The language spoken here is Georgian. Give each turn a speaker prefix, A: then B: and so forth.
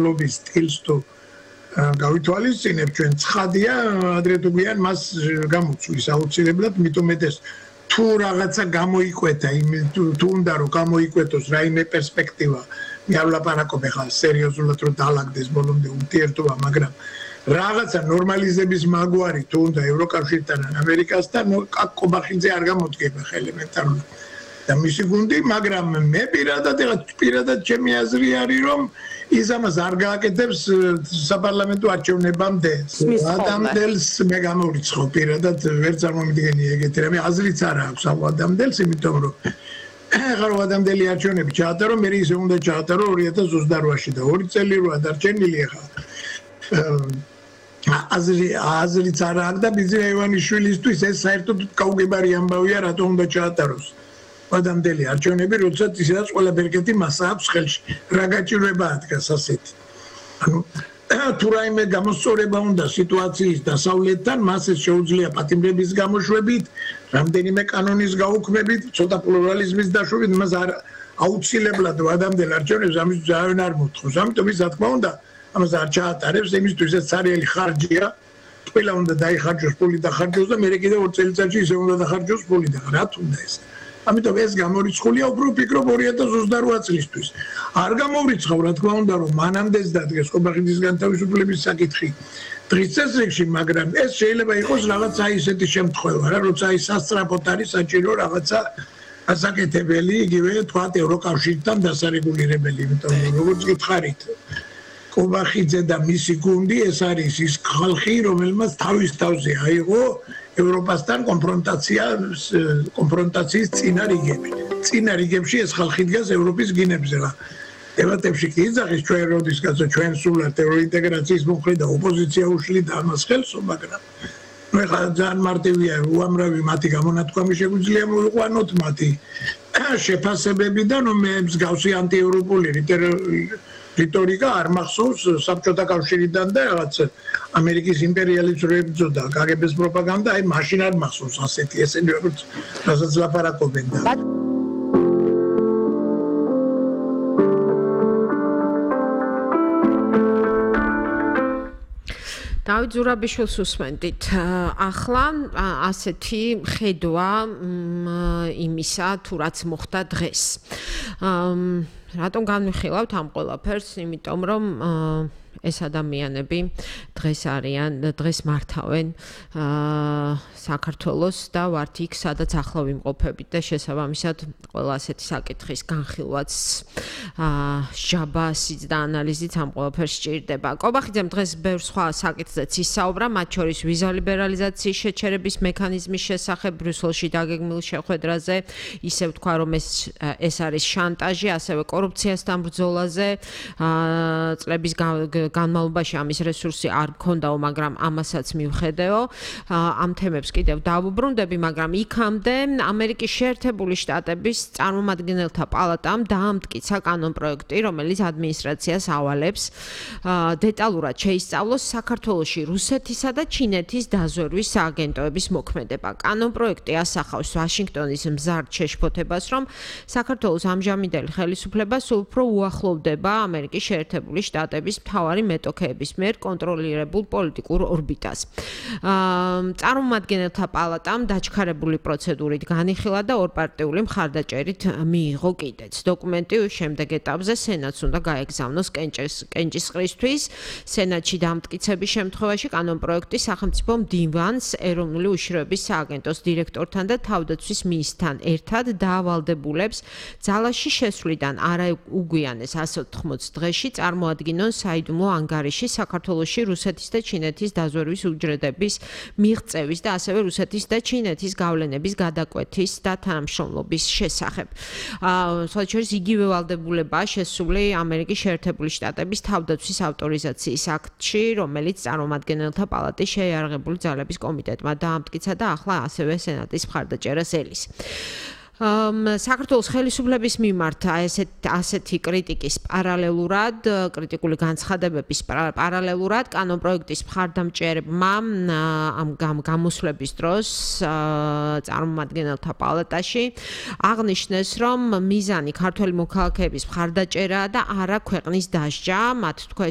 A: ლობის სტილს თუ გავითვალისწინებ ჩვენ ცხადია ადრე თუ გვიან მას გამოცვლის აუცილებლად მithumetes თუ რაღაცა გამოიკვეთა თუ უნდა რომ გამოიკვეთოს რაიმე პერსპექტივა მე ვლაპარაკობ ახლა სერიოზულად რომ დაალაგდეს ბოლომდე ურთიერთობა მაგრამ რაღაცა ნორმალიზების მაგვარი თუ უნდა ევროკავშირთან ან ამერიკასთან კობახიძე არ გამოდგება ელემენტარულად და მისი გუნდი მაგრამ მე პირადად ჩემი აზრი არის რომ ის ამას არ გააკეთებს საპარლამენტო არჩევნებამდე ადამიანს მე გამორიცხო პირადად ვერ წარმომიდგენი ეგეთი რამე აზრიც არ აქვს ამ ადამიანს იმიტომ რომ ახლა ადამიანელი არჩევნები ჩაატარო მე ისე უნდა ჩაატარო 2028-ში და 2 წელი როა დარჩენილი ახლა აზრიც არ აქვს და ბიზნეს ივანიშვილისთვის ეს საერთოდ გაუგებარი ამბავია რატომ უნდა ჩაატაროს ადამიანელი არჩევნები როდესაც ისედაც ყველა ბერკეტი მას აქვს ხელში რა გაჭირვება დგას ასეთი ანუ თუ რაიმე გამოსწორება უნდა სიტუაციის დასავლეთთან მას ეს შეუძლია პატიმრების გამოშვებით რამდენიმე კანონის გაუქმებით ცოტა პლურალიზმის დაშვებით მას არ აუცილებლად ადამიანელ არჩევნებს ამის ძალიან არ მოთხოვს ამიტომ ის რა თქმა უნდა ამას არ ჩაატარებს იმისთვის ეს ცარიელი ხარჯია ყველა უნდა დაიხარჯოს ფული დახარჯოს და მე კიდე 2 წელიწადში ისე უნდა დახარჯოს ფული და რა თუნდა ეს ამიტომ ეს გამორიცხულია უფრო ვფიქრობ 2028 წლისთვის. არ გამორიცხავ რა თქმა უნდა რომ მანამდეც დადგეს კობახიძის განთავისუფლების საკითხი დღის წესრიგში, მაგრამ ეს შეიძლება იყოს რაღაცა ისეთი შემთხვევა, რა როცა ის სასწრაფოდ არის საჭირო რაღაცა ასაკეთებელი, იგივე თქვათ ევროკავშირთან დასარეგულირებელი, იმიტომ რომ როგორც გითხარით კობახიძე და მისი გუნდი ეს არის ის ხალხი, რომელმაც თავის თავზე აიღო ევროპასთან კონფრონტაციის წინა რიგები. წინა რიგებში ეს ხალხი დგას ევროპის გინებზე რა. დებატებში კი იძახის ჩვენ როდისკაცო ჩვენ სულად ევროინტეგრაციის მომხრე და ოპოზიცია უშლიდა ამას ხელს, მაგრამ ნუ ეხლა ძალიან მარტივია უამრავი მათი გამონათქვამი შეგვიძლია მოიყვანოთ მათი შეფასებებიდან მე მსგავსი ანტიევროპული რიტორიკა არ მახსოვს საბჭოთა კავშირიდან და რაღაც ამერიკის იმპერიალიზმის ბრძოლა, კგბ-ს პროპაგანდა, აი მაშინ არ მახსოვს ასეთი ესენი როგორც რასაც ლაპარაკობენ და
B: დავით ზურაბიშვილს უსმენდით. ახლა ასეთი ხედვა იმისა თუ რაც მოხდა დღეს. რატომ განვიხილავთ ამ ყველაფერს? იმიტომ რომ ეს ადამიანები დღეს მართავენ საქართველოს და ვართ იქ, სადაც ახლა ვიმყოფებით და შესაბამისად ყველა ასეთი საკითხის განხილვაც ჟაბასიც და ანალიზიც ამ ყველაფერს სჭირდება. კობახიძემ დღეს ბევრ სხვა საკითხზეც ისაუბრა, მათ შორის ვიზა ლიბერალიზაციის შეჩერების მექანიზმის შესახებ ბრიუსელში დაგეგმილ შეხვედრაზე, ისე ვთქვა რომ ეს არის შანტაჟი, ასევე კორუფციასთან ბრძოლაზე, წლების განმავლობაში ამის რესურსი არ მქონდაო, მაგრამ ამასაც მივხედეო. ამ თემებს კიდევ დავუბრუნდები, მაგრამ იქამდე ამერიკის შეერთებული შტატების წარმომადგენელთა პალატამ დაამტკიცა კანონპროექტი, რომელიც ადმინისტრაციას ავალებს დეტალურად შეისწავლოს საქართველოში რუსეთისა და ჩინეთის დაზვერვის სააგენტოების მოქმედება. კანონპროექტი ასახავს ვაშინგტონის მზარდ შეშფოთებას, რომ საქართველოს ამჟამინდელი ხელისუფლება სულ უფრო უახლოვდება ამერიკის შეერთებული შტატების მთავარი მეტოქეების მიერ კონტროლირებულ პოლიტიკურ ორბიტას. წარმომადგენელთა პალატამ დაჩქარებული პროცედურით განიხილა და ორპარტიული მხარდაჭერით მიიღო კიდეც. დოკუმენტი შემდეგ ეტაპზე სენატს უნდა გაეგზავნოს კენჭისყრისთვის. სენატში დამტკიცების შემთხვევაში კანონპროექტი სახელმწიფო მდივანს, ეროვნული უშიშროების სააგენტოს დირექტორთან და თავდაცვის ministrთან ერთად დაავალდებულებს ძალაში შესვლიდან არაუგვიანეს 180 დღეში წარმოადგინონ საიდუმლო ანგარიში საქართველოში რუსეთის და ჩინეთის დაზვერვის უჯრედების მიღწევის და ასევე რუსეთის და ჩინეთის გავლენების გადაკვეთის და თანამშრომლობის შესახებ. სხვათა შორის იგივე ვალდებულებაა შესული ამერიკის შეერთებული შტატების თავდაცვის ავტორიზაციის აქტში, რომელიც წარმომადგენელთა პალატის შეიარაღებული ძალების კომიტეტმა დაამტკიცა და ახლა ასევე სენატის მხარდაჭერას ელის. საქართველოს ხელისუფლების მიმართ ასეთი კრიტიკის პარალელურად, კრიტიკული განცხადებების პარალელურად კანონპროექტის მხარდამჭერებმა ამ გამოსვლების დროს წარმომადგენელთა პალატაში აღნიშნეს, რომ მიზანი ქართველი მოქალაქეების მხარდაჭერაა და არა ქვეყნის დასჯა. მათ თქვეს,